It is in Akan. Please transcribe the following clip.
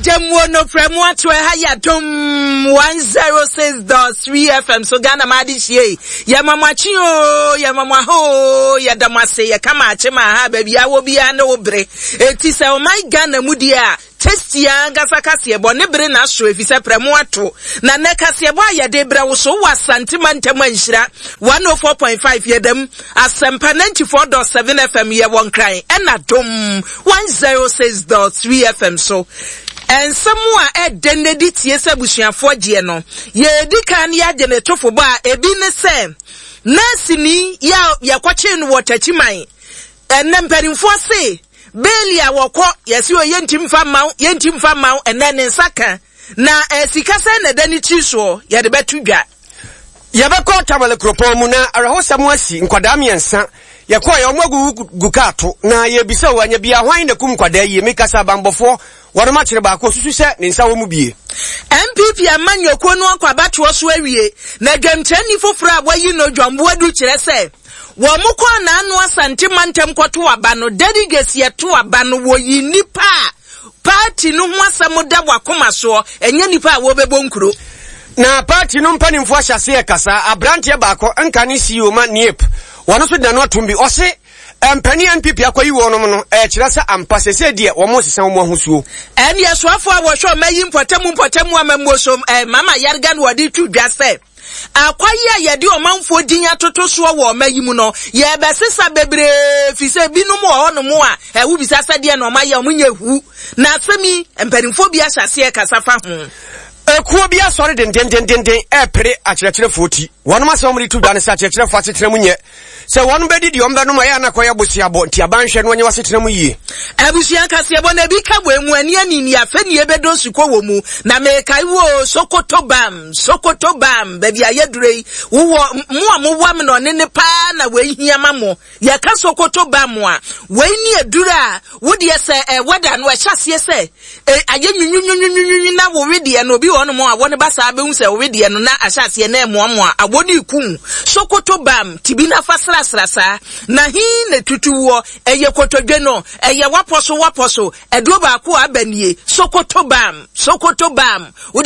Agyamuo no frɛ mu ato ɛha yɛ Adom 106.3 FM so Ghana ma ade hyie yɛ ma mo akye o yɛ ma mo aha o yɛ da mo ase yɛ ka ma akye ma aha baabi a wɔ biara ne wo bere eti sɛ ɔman Ghana mu deɛ a Tasty ankasa kaseɛbɔ ne bere na aso efisɛ prɛmo ato. Na nnɛ kaseɛbɔ a yɛde rebrɛ wo so wɔ Asante mantam a nhyira 104.5 yɛda mu, Asɛmpa 94.7 FM yɛwɔ Nkran ɛna Dom 106.3 FM so. Nsɛm a ɛdɛ nnɛ di tie sɛ abusuafoɔ gyeɛ no, yɛredi kan yɛagye ne tofobɔ a ebi ne sɛ nɛɛseni yɛ a yɛkɔkyee no wɔ Takyiman Ɛnnɛ mpanimfoɔ se bail a wɔkɔ yɛse o yɛnti mfa mma wo yɛnti mfa mma wo ɛnnɛ ne nsa ka na eh, sika sɛn na ɛda ne tiri soɔ yɛde bɛto dwa. Yɛbɛkɔ Tamale kuropɔn mu na awerɛhosɛm asi, nkwadaa mmiɛnsa yɛkɔeɛ wɔn agugu gu kaa to na yɛrebisa o anya bia hwan na kum nkwadaa yie mekasa abanbɔfoɔ wɔnom akyere baako osusu sɛ ne nsa wɔ mu bie. NPP amanyɔkuo no akɔ abatoɔ so awie na dwamkyerɛni foforɔ a wɔayi no John Boadu kyerɛ sɛ Wɔn kɔɔ Naano Asante mantam kɔto aba no, delegates yɛto aba no, wɔyi nnipa a party no ho asɛm da wɔakoma soɔ, ɛnyɛ nnipa a wɔbɛbɔ nkuro. Na party no mpanimfoɔ ahyɛ aseɛ rekasa, aberanteɛ baako nka ne CEO ma NEAP, wɔn nso de n'ano atom bi, ɔse mpanin a NPP akɔyi wɔnom no, ɛkyerɛ sɛ ampa sesei deɛ wɔn resesa wɔn ahosuo. Ɛne asoafoɔ a wɔhwɛ ɔma yi mpɔtamu mpɔtamu amammuo so, Mama Yarga na wɔde to dwa sɛ, Akwaye a yɛde ɔmanfoɔ din atoto soɔ wɔ ɔma yi mu no, yɛrebɛsesa bebree firi sɛ binom wɔ hɔnom a, wobisa sɛ deɛ na ɔmayɛ, ɔmo nyɛ hu. Na asɛm yi, mpanimfoɔ bi ahyɛ aseɛ rekasa fa ho. Ekuo bi asɔre dendendenden repere akyerɛkyerɛfoɔ ti. Wɔnom asɛm a wɔde to dwa ne sɛ akyerɛkyerɛfoɔ asetena mu nyɛ. Sɛ wɔn bɛdi deɛ wɔn bɛnom a, ɛyɛ a na akɔyɛ boseabɔ, nti aban nhwɛ na wɔnyɛ w'asetena mu yie. Abusua kaseɛbɔ na ebi ka wɔ emu ani ani ni afɛ ni ebe do sukɔ wɔ mu na mekae wo o Sokoto bam Sokoto bam baabi a yɛdure yi wowɔ mo a mowɔ amenɔne ne paa na wei hia ma mo yɛka Sokoto bam a wei ne aduru a wodeɛ sɛ eh, wɛda no ɛhyɛ aseɛ sɛ E, ayɛ nwinwinwinwinwinwi na wo wedeɛ no, obi wɔ hɔnom a awɔ no ba saa bɛhu sɛ wo wedeɛ no na ahyɛ aseɛ na ɛmoamoa, awɔ no reku wo. Sokoto bam, tibi na fa srasra saa. Na he na ɛtutu woɔ? Ɛyɛ kotodwe no, ɛyɛ w'apɔ so w'apɔ so, aduro baako a aba nie, Sokoto bam, Sokoto bam. Wo deɛ.